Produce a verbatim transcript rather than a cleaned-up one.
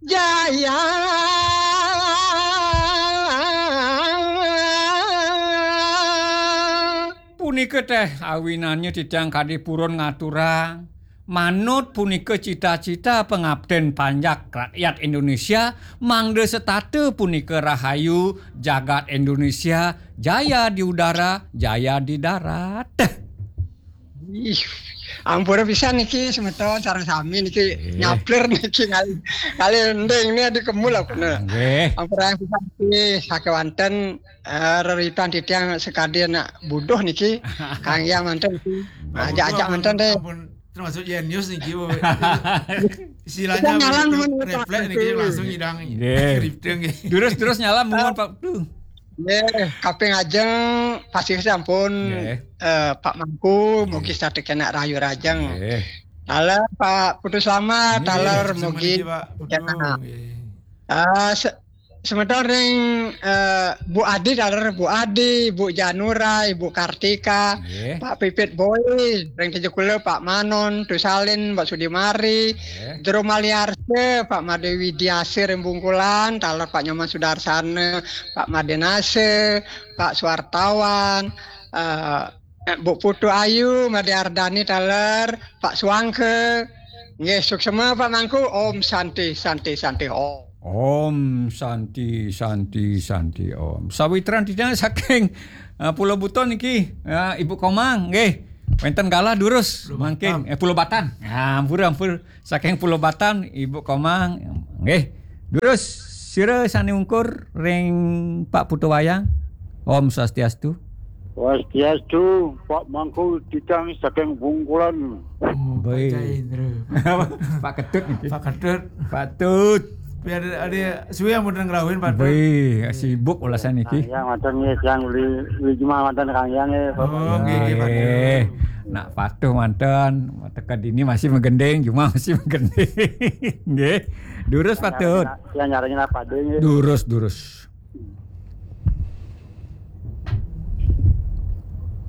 Jaya. Punika teh awinannya titiang kadi purun ngaturang. Manut punika cita-cita pangapten panjak rakyat Indonesia, mangda setata punika rahayu jagat Indonesia, jaya di udara, jaya di darat. Ih, ampura pisan niki semeton sareng sami niki. Eh. Nyaplir niki ngalih, ngalih ending ni adi kemul aku nah. Nggih. Ampura pisan niki sakewanten, eh, reritan titiang sakadi anak buduh niki. Kang Yang manten niki. Ajak-ajak manten deh. Ampun, termasuk jenius niki, Bu. Istilahnya kita nyalang begitu, men, refleks niki, niki langsung nyidang. Nggih. Drifting nggih. Durus-durus nyalam, eh, Pak. Duh. Nggih, kaping ajeng pasti sampun, nggih, eh, Pak Mangku, nggih, mugi setata kena rahayu rahajeng. Nggih. Taler Pak Putu Selamat, nggih, taler mugi niki, Pak Putu, kena. Nggih. Ah, se-, semeton ring, eh, Bu Adi, taler Bu Adi, Bu Janura, Ibu Kartika, nggih, Pak Pipit Boy, ring Tejakula, Pak Manon, Tusalin, Mbak Sudimari, nggih, Jero Maliarse, Pak Made Widiase ring Bungkulan, taler Pak Nyoman Sudarsana, Pak Made Nase, Pak Suartawan, eh, Bu Putu Ayu, Made Ardani taler, Pak Suangke. Nggih, suksema Pak Mangku. Om Santi, Santi, Santi, Om. Om Santi, Santi, Santi, Om. Sawitran titiang saking, eh, Pulau Buton niki, eh, Ibu Komang, nggih. Wenten galah durus. Pulau mangkin Batam. Eh, Pulau Batan. Ah, ampura, ampura. Saking Pulau Batan, Ibu Komang. Nggih. Durus sira sane ungkur ring Pak Putu Wayang. Om Swastiastu. Swastiastu, Pak Mangku titiang saking Bungkulan. Oh, Pak Baik. Jai Indra. Pak Ketut niki. Pak Ketut. Pak Tut. Biar ada suwe yang mboten ngrauhin, Pak Tut. Baik, sibuk ulasan niki. Kang Yang manten nggih, tiang uli, uli Jumah manten Kang Yang nggih, Bapak. Oh, nggih, nggih, Pak Tut. Nggih. Nak patuh manten, teka dini masih menggending, Jumah masih menggending. Nggih. Durus, Pak Tut. Yang nyarengin apa deh nggih? Durus, durus.